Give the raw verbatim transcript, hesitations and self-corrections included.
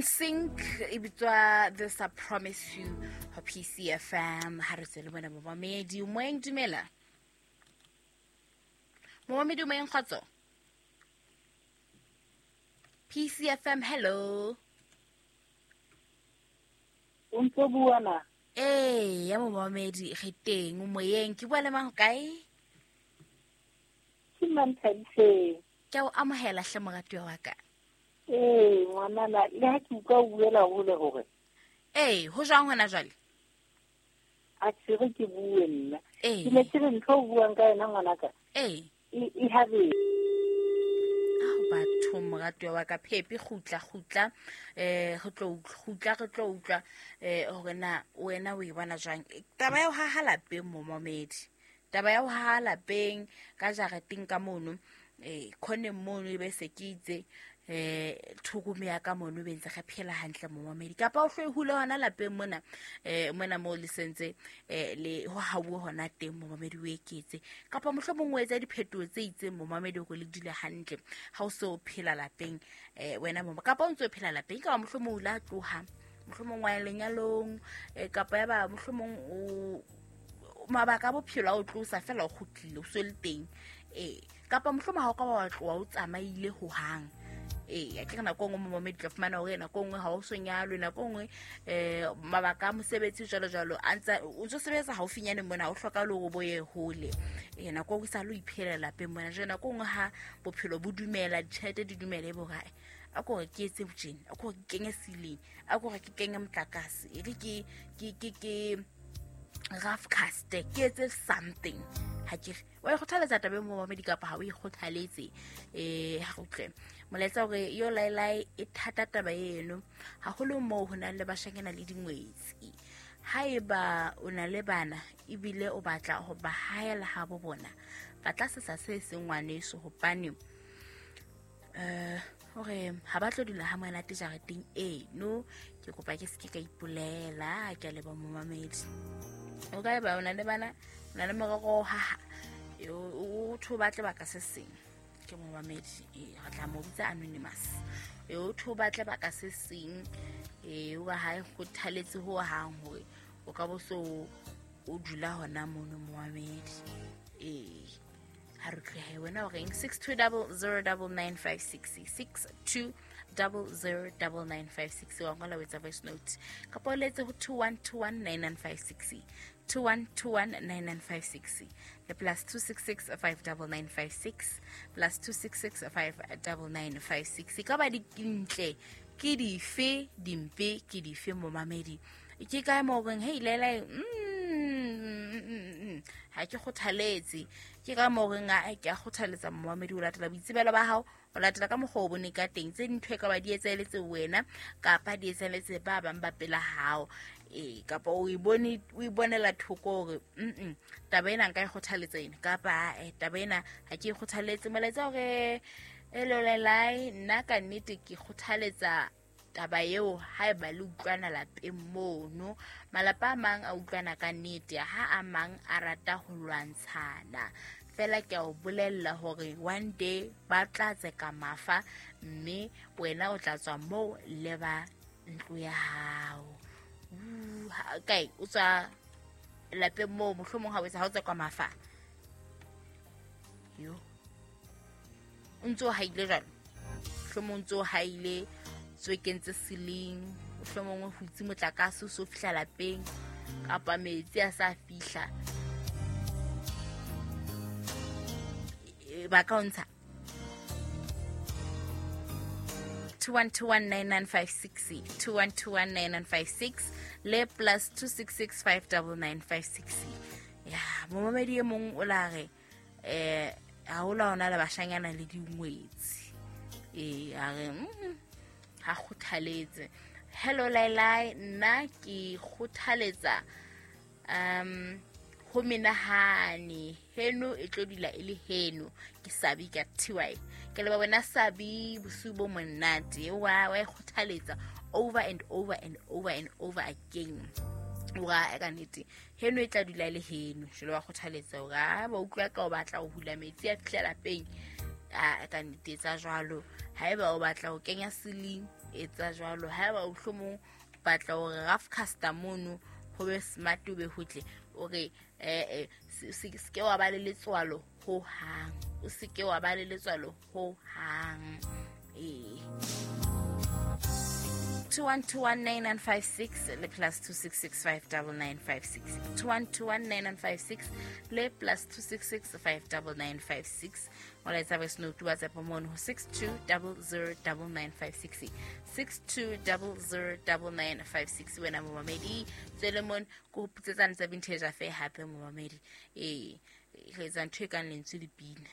Sync e bitswa This I Promise You ho P C F M. Ha re tswele bona momamedi moeng, dumela. Momamedi moeng, kgotso. P C F M, hello. O ntse bua na? Eh, ya momamedi re teng moyeng, ke bua le mang kae? Ke Manthabiseng. Ke o amohela hle moratuwa wa ka. Eh, ngwanana, le ha ke utlwa o buela hole hore. Eh, ho jwang hona jwale? A tsere ke bue nna. Eh. Ke ne ke re ntho o buang ka yona ngwanaka. Eh. E, e habe. Ah, batho moratuwa wa ka, Phepi kgutla kgutla, eh re tlo kgutla re tlo utlwa eh hore na wena o e bona jwang. Taba ya ho haha lapeng momamedi. Taba ya ho haha lapeng ka jareteng ka mono, eh khoneng mono e be se ke itse eh thokome ya ka mono be ntse re phela hantle momamedi. Kapa o hloe hule hona lapeng mona, eh mona mo le sentse eh le ho hauwe hona teng momamedi o eketse, kapa mohlomong o etsa diphetoho tse itseng momamedi hore le dule hantle ha o so phela lapeng eh wena mo, kapa o ntse o phela lapeng, kapa mohlomong o la tloha, mohlomong wa lenyalong, eh kapa ya ba mohlomong o mabaka a bophelo a o tlosa fela o kgutlile o so le teng, eh kapa mohlomong ha o ka wa tloha o tsamaile hohang. Eh, a ke re nako nngwe momamedi tla fumana hore nako nngwe ha o so nyalwe, nako nngwe eh mabaka a mosebetsi jwalo jwalo a ntsa o ntso sebetsa haufinyane mona, ha o hlokahale hore o bo ye hole. Eh, nako nngwe sa lo iphelela lapeng mona. Jwale nako nngwe ha bophelo bo dumela, ditjhelete di dumela, e bo hore, a ko re ke etse botjena, a ko re ke kenye ceiling, a ko re ke kenye motlakase, e re ke ke ke ke rough cast, ke etse something. Ha ke re wa e kgothaletsa taba e momamedi kapa ha o e kgothaletse? Eh, ha re utlwe molaetsa hore yo laelai e thata taba eno, haholo moo ho nang le bashanyana le dingwetsi. Haeba o na le bana ebile o batla ho ba haela ha bo bona, ba tla sesa se seng ngwaneso, hobane eh hore ha ba tlo dula ha monate jareteng eno. Ke kopa ke se ke ka ipolela, ke a leboha momamedi. O ka eba o na le bana, o na le morero ha ha o tho batle baka se seng, ke momamedi, eh re tla mo bitsa anonymous. E o tho batle baka se seng, eh o ba ha e kgothaletse ho hang hore o ka bo so o dula hona mono momamedi. Eh ha re tlohe wena o reng? Six two double zero double nine five six, six two double zero double nine five six. Wa ngola o etsa voice note kapa o letse ho two one two one nine nine five six, two one two one nine nine five six, le plus two six six five double nine five six, plus two six six five double nine five six. Ka ba dintle ke dife, dimpe ke dife momamedi? Ke kae mo reng hey lele, mm ha ke kgothaletse? Ke ka mo reng a ke a kgothaletsa momamedi o latela boitsebelo ba hao, o latela ka mokgwa o bone ka teng, tse dintho e ka ba di etsaheletse wena kapa di etsaheletse ba bang ba pela hao, eh kapa o e bone, o e bonela thoko hore mm taba ena nka e kgothaletsa ena, kapa eh taba ena ha ke e kgothaletse. Molaetsa hore elolelai nna ka nnete ke kgothaletsa taba eo haeba le utlwana lapeng mono. Malapa a mang a utlwana ka nnete, ha a mang a rata ho lwantshana. Fela ke a o bolella hore one day ba tla tseka mafa, mme wena o tla tswa moo le ba ntlo ya hao. Uh, kae o tswa lapeng moo, mohlomong ha o etsa ha o tsekwa mafa. Yo. O ntso haile jwalo. Mohlomong o ntso haile tswe kentse ceiling, mohlomong o hutse motlakase o so fihla lapeng, kapa metsi a sa fihla. Ba ka o ntsha. two one two one nine nine five six, two one two one nine nine five six, le plus two six six five double nine five six. Ya, momamedi e mong o la re eh ha o la ona le bashanyana le dingwetsi. Eh a re mm ha kgothaletse. Hello Lailai, nna ke kgothaletsa um ho menahane heno e tlo dula e le heno. Ke Sabi ka T Y. Ke leba wena Sabi, bosiu bo monate. Wa wa e kgothaletsa over and over and over and over again. Wa e ka nnete heno e tla dula e le heno. Jwale wa kgothaletsa hore ha ba utlwa ka o batla ho hula metsi a fihla lapeng, a ka nnete etsa jwalo. Haeba o batla ho kenya ceiling, Etsa jwalo. Haeba o hlomong batla hore rough caster mono ho be smart o be hotle, o re eh se ke wa ba le letswalo ho hang. O se ke wa ba le letswalo ho hang. Eh two one two one nine nine five six le plus two six six five nine nine five six. two one two one nine nine five six le plus two six six five nine nine five six. Molaetsa voice note WhatsApp mono ho six two zero zero nine nine five six. six two zero zero nine nine five six. Wena momamedi Solomon ko ho putsetsana tsa vintage affair hape momamedi. Eh re etsa ntho e kang lentswe le pina.